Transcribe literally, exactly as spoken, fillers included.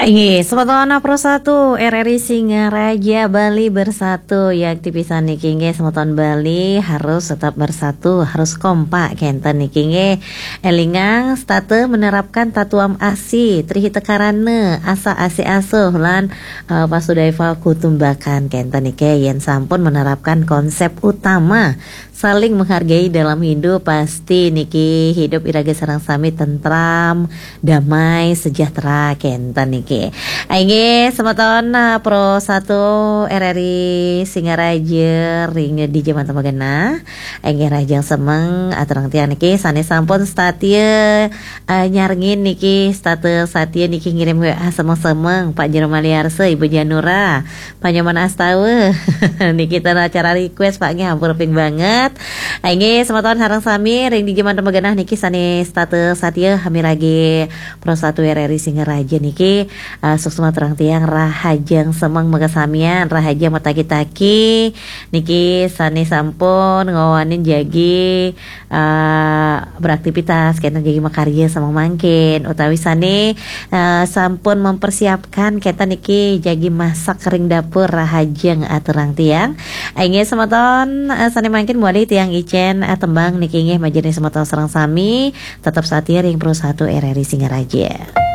Inggih, semeton Pro satu R R I Singaraja, Bali Bersatu. Ya, aktivitas niki inggih, semeton Bali harus tetap bersatu, harus kompak kenten niki inggih. Elingang setata menerapkan tatuam asi, trihita karana, asa asi asuh lan uh, Vasudhaiva Kutumbakam kenten niki, yen sampun menerapkan konsep utama saling menghargai dalam hidup, pasti niki hidup iraga sareng sami tentram, damai, sejahtera kenten niki. Inggih, semeton uh, Pro satu R R I Singaraja ring dija manten magenah. Inggih, rahajeng semeng aturang tiang niki sane sampun satia uh, nyarengin niki, setata satia niki ngirim W A semeng-semeng, Pak Jero Maliarsa, Ibu Janura, Panyoman Astawa. Niki ten acara request, Pak, nggih, ampun ping banget. Inggih, semeton sareng sami ring dija manten magenah niki sane setata satia miragi Pro satu R R I Singaraja niki. Uh, suksma aturang tiang, rahajeng semeng makasamian, rahajeng mataki-taki niki sane sampun ngawanin jagi uh, beraktivitas kenten, jagi makarya semeng mangkin, utawi sane uh, sampun mempersiapkan kenten niki jagi masak ring dapur, rahajeng aturang tiang. Inggih, semeton uh, sane mangkin mawali tiang icen uh, tembang niki inggih, majeng ring semeton sareng sami, tetep satia ring Pro satu R R I Singaraja.